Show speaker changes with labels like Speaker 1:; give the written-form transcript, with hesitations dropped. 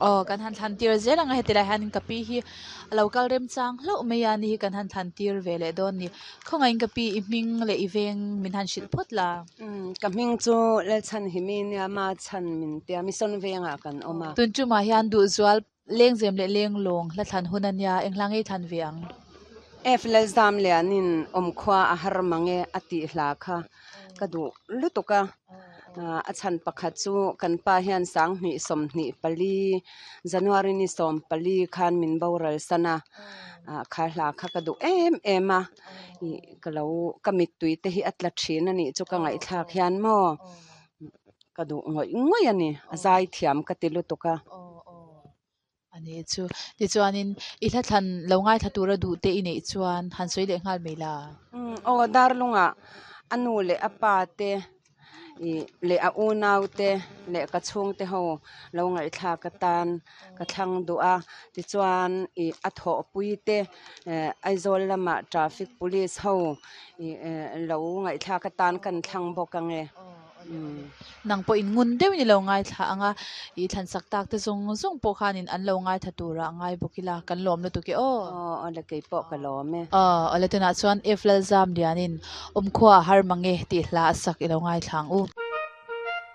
Speaker 1: Aw kan han thlan tir zel ang a heti lai hianin ka pi hi a lo kal remchang hlauh mai a ni hi kan han thlan tir ve leh dawn a ni. Khawngaihin ka pi i hming leh i veng min han hrilh phawt la.
Speaker 2: Umm ka hming chu Lalchhanhimi nia ma chhan min tia Mission vengah kan awm a.
Speaker 1: Tun tumah hian duhzual Lengzem leh lenglawng hla thlan hun a nia, eng hla ngei thlan ve ang?
Speaker 2: F Lalzam Lianin awmkhua a har mang e a tih hla kha ka duh lutuk a, a chhan pakhat chu kan pa hian sanghnih 24 January ni 14 khan min boral san a, kha hla kha ka duh em em a, ih ka lo ka mittui te hi a tla thin a nih chu ka ngaihthlak hian maw. Ka duh ngawih ngawih a ni, a zai thiam ka ti lutuk a.
Speaker 1: A ni chu. Tichuanin i hla thlan lo ngaithla tura duh te i neih chuan han sawi leh nghal mai la.
Speaker 2: Aw, Darlungah a nu leh a pa te ih leh a unau te leh ka chhungte ho lo ngaihthlak atan ka thlang duh a. Tichuan ih a thawhpui te Aizawl lamah traffic police ho ih lo ngaihthlak atan kan thlang bawk ang e.
Speaker 1: Nang pawhin ngun deuhin i lo ngaithla ang a, i thlansak tak te zawng zawng pawh khanin an lo ngaithla turah a ngai bawk ila, kan lawm lutuk e aw.
Speaker 2: Aw, awle kei pawh ka lawm e.
Speaker 1: Aw, awle tunah chuan F Lalzam Lianin Awmkhua a har mang e tih hla a sak i lo ngaithla ang u.